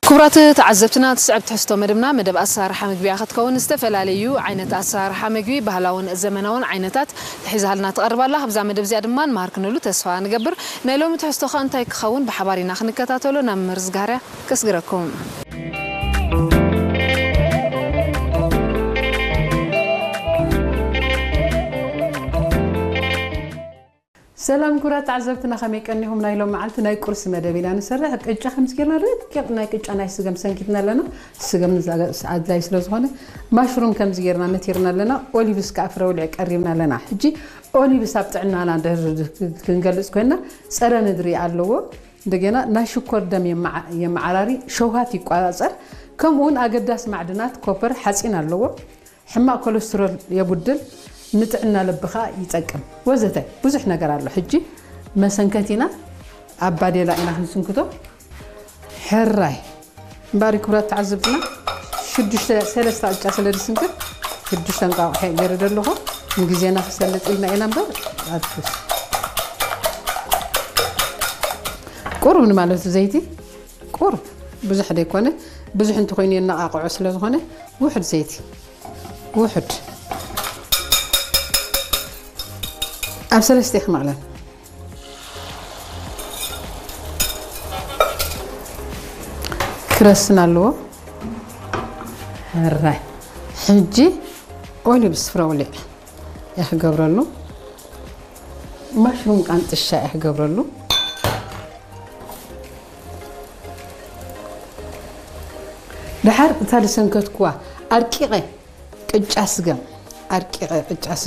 ክቡራት ተዓዘብትና፣ ትስዕብ ትሕዝቶ መደብና መደብ ኣሰራርሓ ምግቢ እያ ክትከውን። ዝተፈላለዩ ዓይነት ኣሰራርሓ ምግቢ፣ ባህላውን ዘመናውን ዓይነታት ሒዛልና ትቐርብ ኣላ። ካብዛ መደብ እዚኣ ድማ ንመሃር ክንህሉ ተስፋ ንገብር። ናይ ሎሚ ትሕዝቶ ኸ እንታይ ክኸውን ብሓባር ኢና ክንከታተሎ ናብ መምህር ዝጋርያ ከስግረኩም። ሰላም ክቡራት ተዓዘብትና፣ ከመይ ቀኒኹም? ናይ ሎም መዓልቲ ናይ ቁርሲ መደብ ኢና ንሰርሕ። ቅጫ ከምዚ ጌርና ደቂቕ ናይ ቅጫ ናይ ስገም ሰንኪትና ኣለና። ስገም ንዛ ኣድላይ ስለ ዝኾነ ማሽሩም ከምዚ ጌርና ነቲርና ኣለና። ኦሊቭስ ከኣ ፍረ ውልዒ ቀሪብና ኣለና። ሕጂ ኦሊቭስ ኣብ ጥዕናና ድሕሪ ክንገልጽ ኮይና ጸረ ንድሪ ኣለዎ። እንደገና ናይ ሽኮር ደም የመዓ-፣ የመዓራሪ፣ ሸውሃት ይቆጻጸር። ከምኡ እውን ኣገዳሲ ማዕድናት ኮፐር፣ ሓጺን ኣለዎ። ሕማቕ ኮለስትሮል የጉድል፣ ንጥዕና ልብኻ ይጠቅም ወዘተ ብዙሕ ነገር ኣሎ። ሕጂ መሰንከቲና ኣብ ባዴላ ኢና ክንስንክቶ። ሕራይ እምበኣር ክብራት ተዓዘብትና ሽዱሽተ፣ ሰለስተ ቅጫ ስለ ዝስንክት ሽዱሽተ እንቋቑሖ ገይረ ዘለኹ። ንግዜና ክሰልጥ ኢልና ኢና እምበር ኣትኩስ ቁሩብ ንማለቱ ዘይቲ ቁሩብ ብዙሕ ዘይኮነ፣ ብዙሕ እንተኾይኑ የነቓቕዖ ስለ ዝኾነ ውሑድ ዘይቲ፣ ውሑድ ኣብ ሰለስተ ይኽመቕለን ክረስን ኣለዎ። ሕራይ ሕጂ ኦሊቭስ ፍረ ውሊዕ እየ ክገብረሉ። ማሽሩም ቃንጥሻ እየ ክገብረሉ። ደሓር እታ ዝሰንከትኩዋ ኣርቂቐ ቅጫ ስገም፣ ኣርቂቐ ቅጫ ስገም